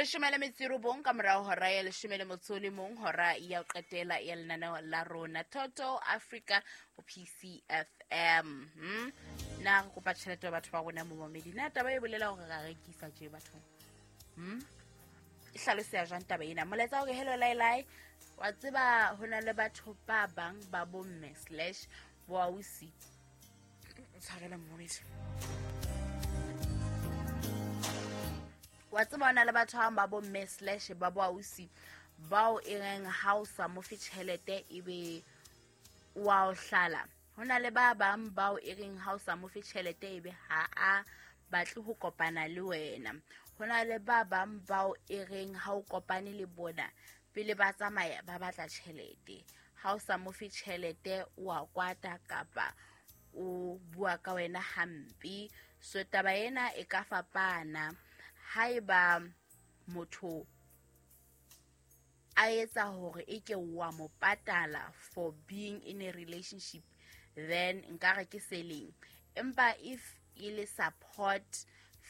19 ka morao hora ya 11 hora ya ho qetela ya lenaneo la rona Toto Africa ho PCFM. Na re kopa tjhelete ya batho ba rona momamedi, na taba e bolela hore ra rekisa tje bathong? E hlaloseha jwang taba ena? Molaetsa hore hello lai, wa tseba ho na le batho ba bang ba bomme slash boausi. Tshwarela momamedi. Wa tseba ho na le batho ba bomme slash ba boausi bao e reng ha o sa mo fe tjhelete ebe wa o hlala. Ho na le ba bang bao e reng ha o sa mo fe tjhelete ebe ha a batle ho kopana le wena. Ho na le ba bang bao e reng ha o kopane le bona pele ba tsamaya ba batla tjhelete. Ha o sa mo fe tjhelete o a kwata kapa o bua ka wena hampe. So taba ena e ka fapana haeba motho a etsa hore e ke wa mo patala for being in a relationship, then nkare ke selling. Empa if e le support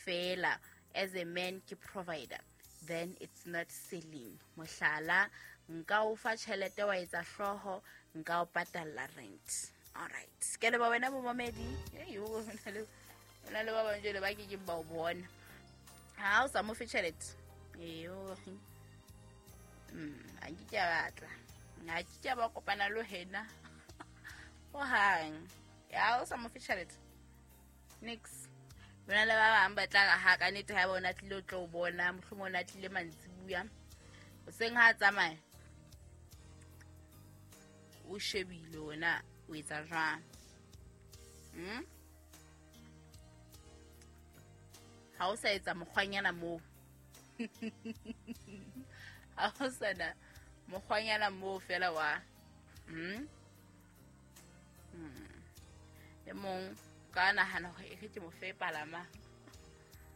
fela as a man ke provider, then it's not selling. Mohlala, nka o fa tjhelete wa etsa hlooho, nka o patalla rent. All right, ke leboha wena momamedi. Hey, o na le ba bang jwale ba kekeng ba o bona ha o sa mo fe tjhelete. A nke ke a batla, a ke ke a ba kopana le wena hohang. Ya o sa mo fe tjhelete nix. Bona le ba bang ba tla re ha ka nnete ha bona tlile o tlo o bona, mohlomong o na tlile mantsibuya hoseng ha a tsamaya o shebile wena o etsa jwang. Ha o sa etsa mokgwanyana moo, ha o sana mokgwanyana moo fela wa e mong ka nahana hore e re ke mo fe palama.